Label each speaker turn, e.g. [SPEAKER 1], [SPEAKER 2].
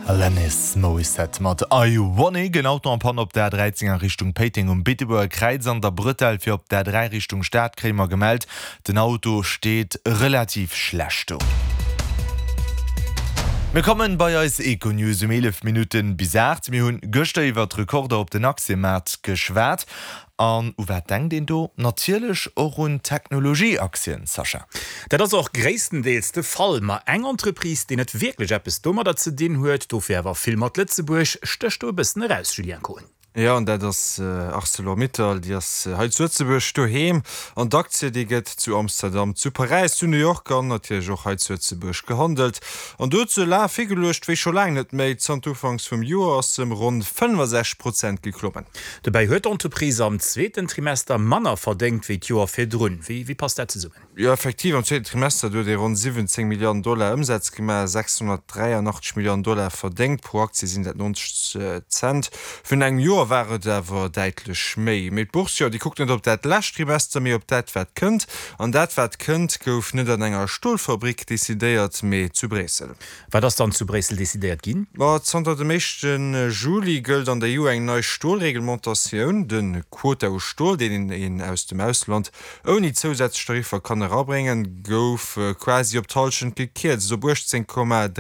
[SPEAKER 1] Alanis Morissette mat I Wanna. En Auto en panne op der A13 a Richtung Péiteng um Beetebuerger Kräiz an der Bretelle fir op der A3 Richtung Stad kréie mer gemellt. Den Auto steet relativ schlecht do. Mir kommen bei eis Econews um 11 Minutten bis 8. Mir hunn gëschter iwwert Rekorder op den Aktiemaart geschwat. An u wat denkt een do? Natierlech och un Technologieaktien, Sascha.
[SPEAKER 2] Dat ass och gréisstendeels de Fall. Ma eng Entreprise, déi net wierklech eppes domadder ze dinn huet, dofir awer vill mat Lëtzebuerg, stécht do e bëssen eraus, Julien Kohn.
[SPEAKER 3] Jo, an dat ass Arcelor-Mittal. Déi ass hei zu Lëtzebuerg doheem. An d'Aktie, déi gëtt zu Amsterdam, zu Paräis, zu New York an natierlech och hei zu Lëtzebuerg gehandelt. An do huet se laf higeluecht wéi scho laang net méi. Zanter Ufanks vum Joer ass se ëm ronn 65 Prozent geklommen.
[SPEAKER 2] Dobäi huet d'Entreprise am zweeten Trimester manner verdéngt wéi d'Joer virdrun. Wéi passt dat zesummen?
[SPEAKER 3] Jo, effektiv, am zweeten Trimester, do huet ee ronn 17 Milliarden Dollar Ëmsaz gemaach, 683 Milliarden Dollar verdéngt. Pro Aktie sinn dat 90 Cent. Virun engem Joer war et awer däitlech méi. Mee d'Bourse, jo, déi kuckt net op dat lescht Trimester, mee op dat, wat kënnt. An dat, wat kënnt, gouf net an enger Stolfabrik decidéiert, mee zu Bréissel.
[SPEAKER 2] Wat ass dann zu Bréissel decidéiert ginn?
[SPEAKER 3] Ma zanter dem éischte Juli gëllt an der EU eng nei Stolreglementatioun. De Quota u Stol, deen een aus dem Ausland ouni zousätzlech Tariffer kann erabréngen, gouf quasi op d'Hallschent gekierzt, op 18,3.